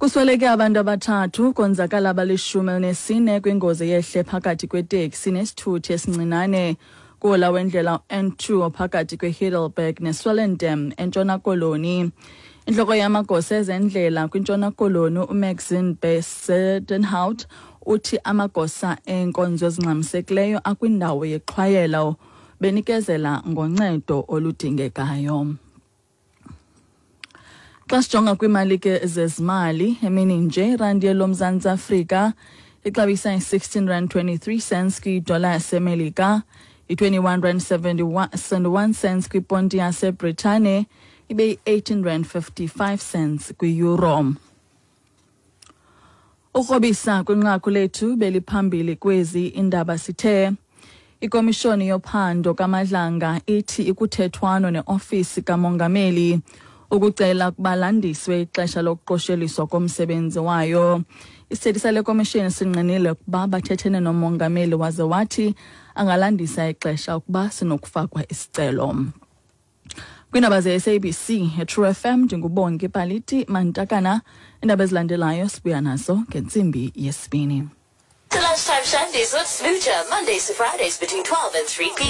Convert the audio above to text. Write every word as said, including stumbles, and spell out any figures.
Kusweleke abantu abathathu, konzakala abalishumi elinesine kwingozi yehle phakathi kweteksi nesithuthi esincinane kuhola wendlela N two phakathi kweHeidelberg neSwellendam eNtshona Koloni. Intloko yamagosa ezendlela kwiNtshona Koloni, uMaxine Bezuidenhout, uthi amagosa eenkonzo ezingxamisekileyo akwindawo yexhwayelo benikezela ngoncedo oludingekayo. Xa sijonga kwiimali ke zezimali emini nje, irandi yeloMzantsi Afrika ixabisa i-sixteen rand twenty-three cents kwidola yaseMelika, i-twenty-one rand seventy-one cents kwiponti yaseBritane, ibe yi-eighteen rand fifty-five cents kwi-euro. Ukrobisa kwinqaku lethu beliphambili kwezi indaba, sithe ikomishoni yophando kaMadlanga ithi ikuthethwano neofisi kamongameli ukucela ukuba landiswe ixesha lokuqosheliswa komsebenzi wayo. Isithethi sale komishoni singqinile ukuba bathethene nomongameli, waze wathi angalandisa ixesha ukuba sinokufakwa isicelo. Kwiindaba ze-S A B C eTrue F M, ndinguBongi Paliti Mantakana. Iindaba ezilandelayo sibuya nazo ngentsimbi yesibini. The Lunchtime Shandies with Smoocher, Mondays to Fridays between twelve and three p m.